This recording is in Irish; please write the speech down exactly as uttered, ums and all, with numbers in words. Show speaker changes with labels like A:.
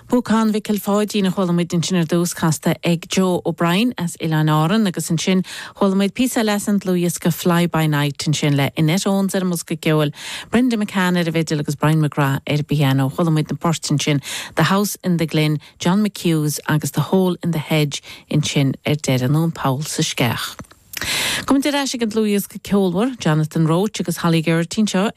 A: Púcán Mhicil Pháidín a chuala muid ansin ar dtús casta ag Joe O'Brien as Oileáin Árann agus ansin chuala muid píosa eile an dlúthdhiosca Fly by Night ansin le Annette Owens ar an mbosca ceoil, Brenda McCann ar an bhfidil agus Brian McGrath ar piano chuala muid na poirt ansin The House in the Glen, John McHugh's agus The Hole in the Hedge ansin ar deireadh nó an Poll sa Sceach. Gabhfaidh muid ar ais ag an dlúthdhiosca ceolmhar, Jonathan Roach agus Holly Geraghty seo